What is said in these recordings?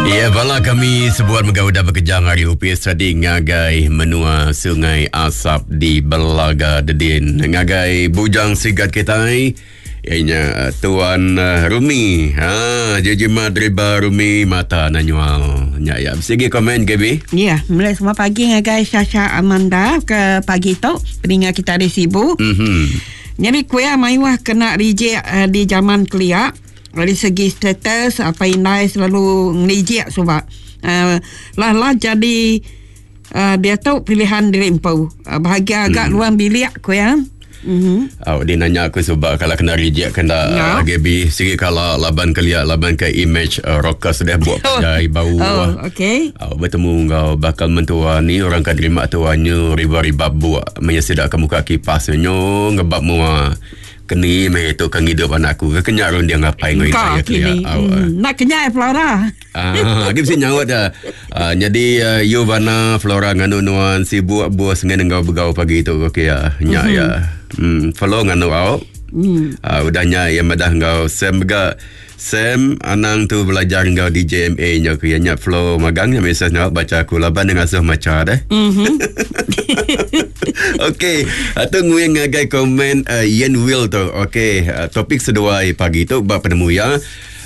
Ya, bala kami sebuat mega udah bekejang ari opis tadi ngagai menua Sungai Asap di Belaga Dedin. Ngagai bujang sigat kitai, iya nya eh, Tuan eh, Rumi. Ha, jejima driba Rumi mata na nyual. Nya ya. Bisi komen KB? Ya, mulai semua pagi ngagai Shasha Amanda ke pagi tu peninga kita di Sibu. Jadi kuya mayuh kena reject uh, di zaman kelia. Dari segi status apa indai selalu ngereject suba. Lah lah jadi dia tu pilihan diri empu. Bahagia agak luang bilik kuya. Oh, dia nanya aku sebab kalau kena reject kena ya. Gaby sigi kalau laban kelia laban ke image rockers dah buat pandai bau. Oh, okey. Oh, bertemu ngau bakal mentua ni orang kan terima tuannya riba-riba buat menyesidak ke muka kipas nyo ngebab mua. Keni meh tu ke ngidup anak aku ke kenyak runding apai ngau indai aku ya. Nak kenyai Flora. Ah, agi bisi nyaut dah. Ah, jadi uh, Yuvana Flora nganu nuan sibuk bos ngan enggau begau pagi tu okey ya. Nya ya. Follow nganu au. Ah, udah nya iya madah enggau Sam mega Sam anang tu belajar enggau DJMA nya ku iya nya flow magang nya mesej nya baca aku laban dia ngasuh macha deh. Okey, tu nguing ngagai komen Ian Will tu. Okey, topik seduai pagi tu ba penemu iya.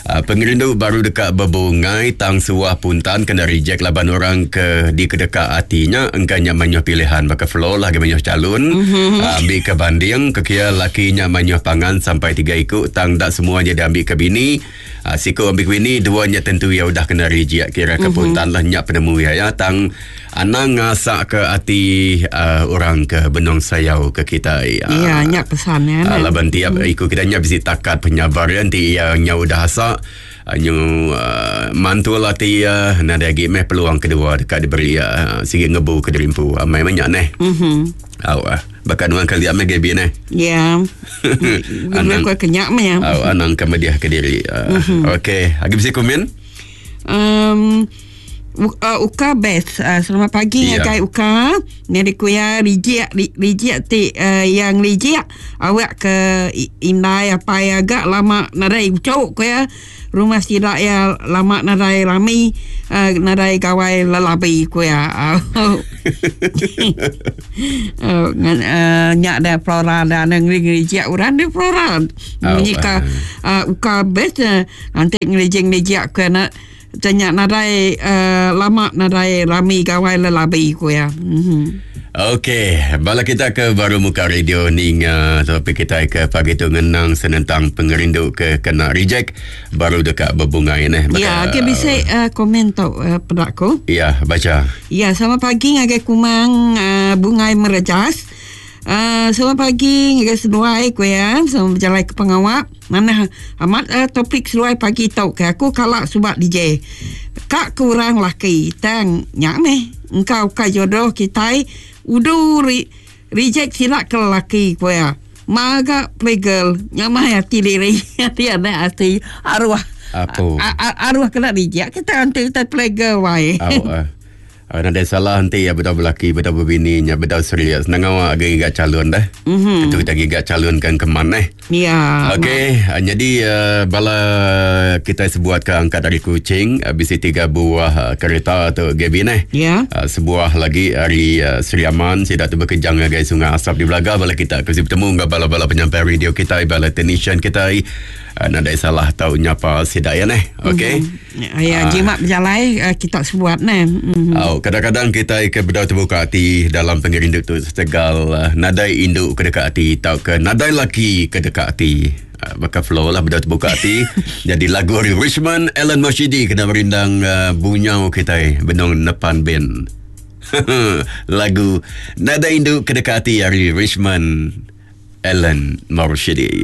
Pengerindu baru deka bebungai tang suah puntan kena reject laban orang ke dikedeka ati nya engka nya mayuh pilihan baka flow lah agi mayuh chalun. Ambi ke banding ke kia laki nya mayuh pangan sampai tiga iku tang enda semua nya diambi ke bini. Siku ambi ke bini dua nya tentu iya udah kena reject kira ke puntan lah nya penemu iya ya tang anang ngasak ke ati orang ke benung sayau ke kitai. Ya nya pesan ya. Laban tiap iku kitai nya bisi takat penyabar iya enti iya nya udah asak nyu mantul ati iya nadai agi meh peluang kedua deka diberi iya sigi ngebu ke diri empu amai meh nya neh. Au ah baka nuan kelia meh Gaby neh. Ya. Anang ke nya meh. Au anang ke medih ke diri. Okey agi bisi komen? Uka best. Selamat pagi yeah. ngagai Uka. Nyadi ku iya rijik rijik ti iya ngerijik awak ke indai apai agak lama nadai uchu ku iya. Rumah sida iya lama nadai rami nadai gawai lelabi ku iya. Nya da Flora da ngerijik orang di Flora. Munyi ka Uka best enti ngerijik-ngerijik ku iya. Utai nya nadai lama nadai rami gawai lelabi, ku iya. Okey, bala kita ke baru muka radio ninga topik kitai ke pagi tu ngenang senentang pengerindu ke kena reject baru deka bebungai neh. Ya, okey bisi komen tu peda ku. Ya, bacha. Ya, selamat pagi ngagai Kumang Bungai Merejas. Selamat pagi ngagai seduai ku iya, selamat bejalai ke pengawa. Manah amat topik seduai pagi tu ke aku kala suba DJ. Ka ke orang laki tang nya meh engka ukai jodoh kitai udu reject sida ke lelaki ku iya. Ma ga playgirl nya meh ati diri ati anak ati aruh aruh kena reject kita enti kitai playgirl wai. Nadai salah enti iya bedau belaki bedau bebini nya bedau serius nang ngawa agi ngiga chalun deh. Tentu kita ngiga chalun ke engkeman eh. Ya. Okey, nyadi bala kitai sebuat ke angkat ari Kuching bisi tiga buah kereta tu Gavin eh. Ya. Sebuah lagi ari Sri Aman sida tu bekejang ngagai Sungai Asap di Belaga bala kita ke bisi betemu enggau bala-bala penyampai radio kitai bala technician kitai nadai salah tau nyapa sida iya neh. Okey. Ya, jimat bejalai kita sebuat neh. Au, kadang-kadang kitai ke bedau tebuka ati dalam pengerindu tu setegal nadai indu ke deka ati tauka nadai laki ke deka ati. Baka flow lah bedau tebuka ati. Jadi lagu ari Richmond Alan Moshidi kena merindang bunyau kitai benung nepan band. Lagu Nadai Indu Ke Deka Ati ari Richmond Alan Morshidi.